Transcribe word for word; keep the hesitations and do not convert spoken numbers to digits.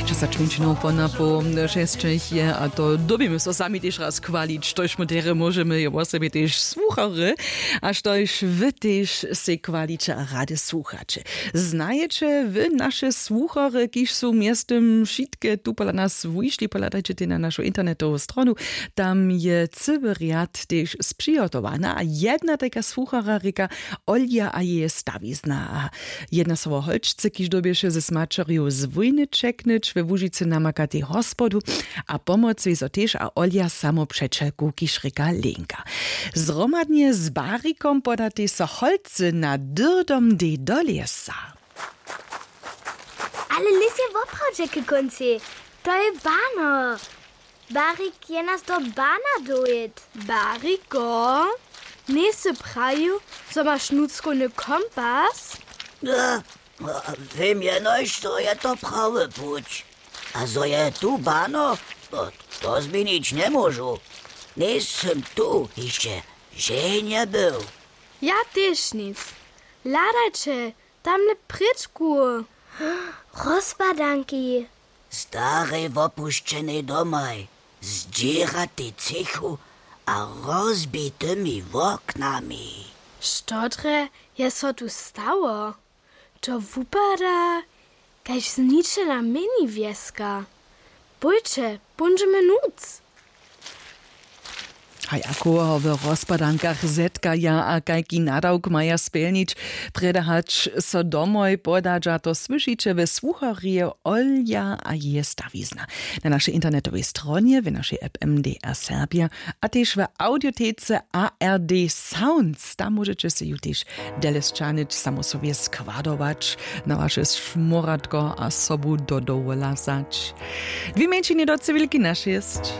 Časačminčinow pona po šesćech je a to dyrbimy so sami tež raz chwalić, štož my derje móžemy je wosebje tež słuchary, a štož wy tež sej chwaliće a rady słuchaće. Znajeće wy naše słuchary, kiž su mjeztym wšitke tu pola nas wušli? Pohladajće tej na našu internetowu stronu. Tam je cyły rjad tež spřihotowana a jedna tajka słuchara rěka olja a jeje stawizna. A jedna so wo holčce, kiž dyrbješe z maćerju z wójny ćeknyć, we łužicy namakatej hospodu a pomoc wězo tež a olja samopřećelku, kiž rěka lenka. Zhromadnje z barikom podatej so holcy na dyrdom dej do lěsa. Ale lěs je woprawdźe k kóncej. To je bano. Barik je nas do bana dowěd. Bariko, njejsy prajił, zo maš nutřkowny kompas? Wěm jenož, zo je to prawy puć. A zo je tu bano, to změnić njemóžu. Njejsym tu hišće ženje był. Ja tež nic. Hladajće, tamle prěčku. Rozpadanki. Starej wopušćenej domaj, zdźěratej třěchu a rozbitymi woknami. Što drje je so tu stało? To wupada kaž zničena mini wjeska. Pójće, póńdźemy nutř. A jako ho w rozpadankach zetkaja a kajki nadawk maja spjelnić, prjedy hač so domoj podadźa, to słyšiće we słucharje olja a jeje stawizna na našej internetowej stronje, w našej app mdr serbja a tež w audiotece ard sounds. Tam móžeće sej ju tež dele sćahnyć, samo so wje składować na waše šmóratko a sobu do dowola wzać. Dwě mjeńšinje do cywilki na šěsć.